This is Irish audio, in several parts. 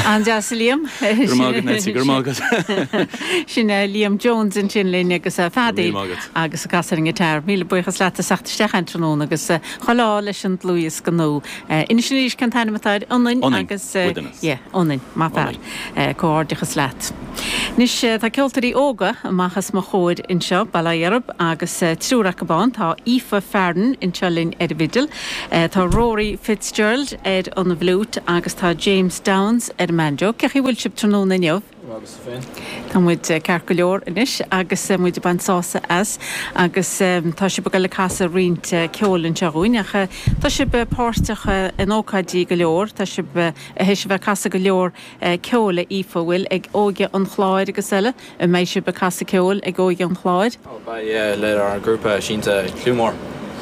An-deas, a Liam. Go raibh maith agat, Nancy, go raibh maith agat. Sin Liam Jones ansin linn agus feadaíl agus ag casadh ar an ngiotár. Míle buíochas leat as theacht isteach an tráthnóna agus chuile ádh leis an dlúthdhiosca nua. Inis arís cén t-ainm atá air? Ionainn agus. Yeah, Ionainn. Maith fear. Comhghairdeachas leat. Anois tá ceoltóirí óga amach os mo chomhair anseo, bail ó Dhia orthu, agus triúr acu ann. Tá Aoife Farren anseo linn ar an bhfidil, tá Rory Fitzgerald ar an bhfliúit agus tá James Downes ar an mbanjo. Cén chaoi a bhfuil sibh tráthnóna inniu? Agus tú féin? Tá muid ceart go leor anois agus muid ag baint sásamh as agus tá sibh ag dul ag casadh roinnt ceoil anseo dhúinn ach tá sibh páirteach in ócáidí go leor, tá sibh théis a bheith ag casadh go leor ceoil, a Aoife, an bhfuil, ag Óige an Chláir agus eile, an mbeidh sibh ag casadh ceoil ag Óige an Chláir? Ó beidh, yeah, lenár ngrúpa Siansa Cliú Mór.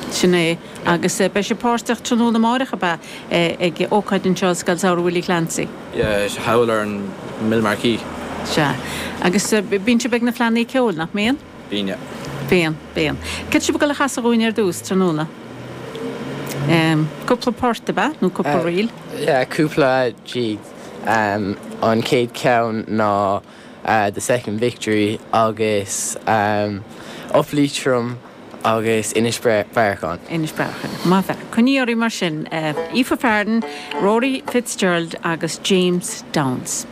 Sin é. Agus beidh sibh páirteach tráthnóna amáireach, ab ea, ag ócáid anseo i Scoil Samhraidh Willie Clancy? Yeah, thall ar an Mill Marquee. Sea. Agus bíonn sibh ag na Fleadhanna Ceoil, nach mbíonn? Bíonn, yeah. Bíonn, bíonn. Céard tá sibh ag dul a chasadh dhúinn ar dtús, tráthnóna? Cúpla port, ab ea? Nó cúpla ríl? Yeah, cúpla jig. An chéad cheann ná The Second Victory agus Up Leitrim agus Inis Bearacháin. Inis Bearacháin. Maith fear. Coinnigí oraibh mar sin. Aoife Farren, Rory Fitzgerald agus James Downes.